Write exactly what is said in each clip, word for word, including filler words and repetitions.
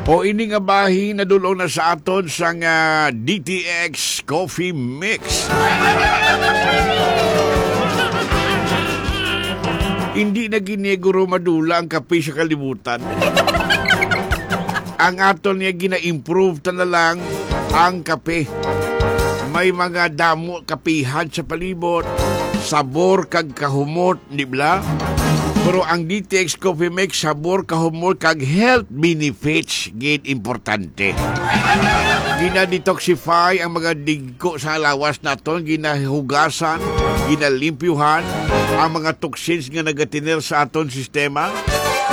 O ini nga bahin nadul-ong na sa aton sang, ah, D T X Coffee Mix. Hindi na gini guro madula ang kape sa kalibutan. Ang aton nga gina-improve ta na lang ang kape. May mga damo kapihan sa palibot, sabor kag kahumot, di bala? Pero ang D T X Coffee Mix, sabor, kahumot, kag health benefits, gid importante. Gina-detoxify ang mga digko sa lawas naton, ginahugasan, ginalimpyuhan ang mga toxins nga nagatiner sa aton sistema,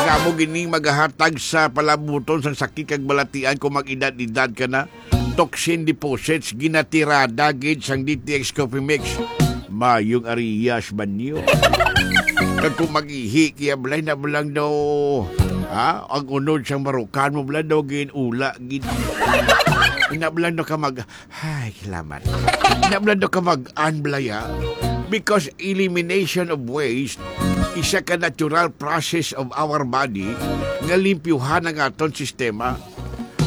nga amo gining magahatag sa palabuton sang sakit kag balatian kung mag-edad-edad ka na. Toxin deposits ginatirada gid sang D T X Coffee Mix. Mayong ariyas ba niyo? Kag kung mag-ihi kaya balay na lang daw, ha? Ang unod sang marukan mo bala daw gin-ula gid. Ina bala daw ka mag, ay, salamat. Ina bala daw ka mag-an balaya. Because elimination of waste, isa ka natural process of our body nga limpyuhan ang aton sistema.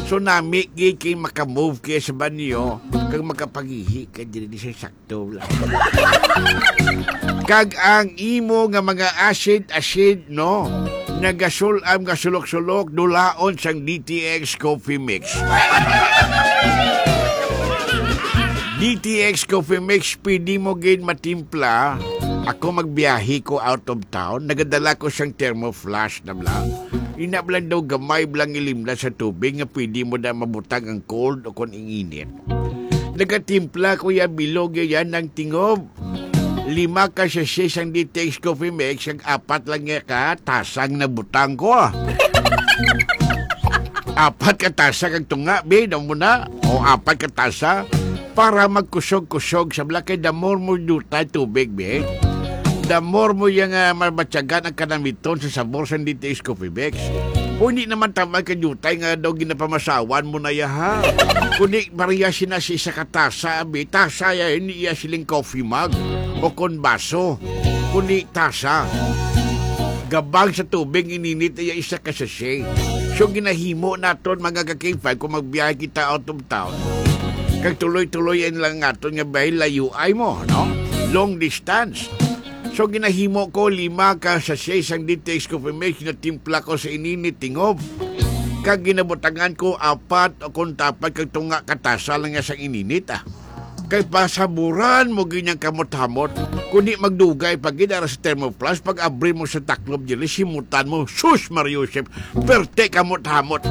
So, nami gid kay maka-move kay sa banyo kag makapangihi ka diri sa sakto lang. Kag ang imo nga mga acid, acid, no? Nagasul-am nga sulok-sulok, dulaon sang D T X Coffee Mix. D T X Coffee Mix, pwede mo gid matimpla. Ako magbiyahe ko out of town, nagadala ko sang thermo flash na bala. Ina bala daw gamay bala nga ilimda sa tubig nga pwede mo na mabutang ang cold o kon ang init. Nagatimpla ko ya bilog ya yan ng tingob. Lima ka sachet sang D T X Coffee Mix, ang apat lang ya ka tasang nabutang ko. Apat ka tasa kag tunga, be, daw mo na. O apat ka tasa para magkusog-kusog sa bala kay the more mo dutay tubig, be. The more mo yang, ah, mabatyagan ang kanamiton sa sabor sang D T X Coffee Mix. O hindi naman tamay ka dutay nga daw ginapamasawan mo na ya, ha. Kundi pareha sina sa isa ka tasa, be. Tasa ya, hindi ya siling coffee mug o kon baso. Kundi tasa. Gabang sa tubig, ininit ya isa ka sachet. So, ginahimo naton, mga ka-K five, kung magbiyahe kita out of town. Kag tuloy-tuloy yan lang aton nga biyahe, layo ay mo, no? Long distance. So, ginahimo ko lima ka sachet sang D T X Coffee Mix, ginatimpla ko sa ininit tingob. Kag ginabutangan ko apat o kung tapat kag tunga ka tasa lang nga sang ininit, ah. Kay pasaburan mo gid niyang kamot-hamot. Kundi magdugay pa gid ara sa thermoflask, pag abri mo sa taklob diri, simutan mo, "Sus, Mario Joseph, perte kamot-hamot."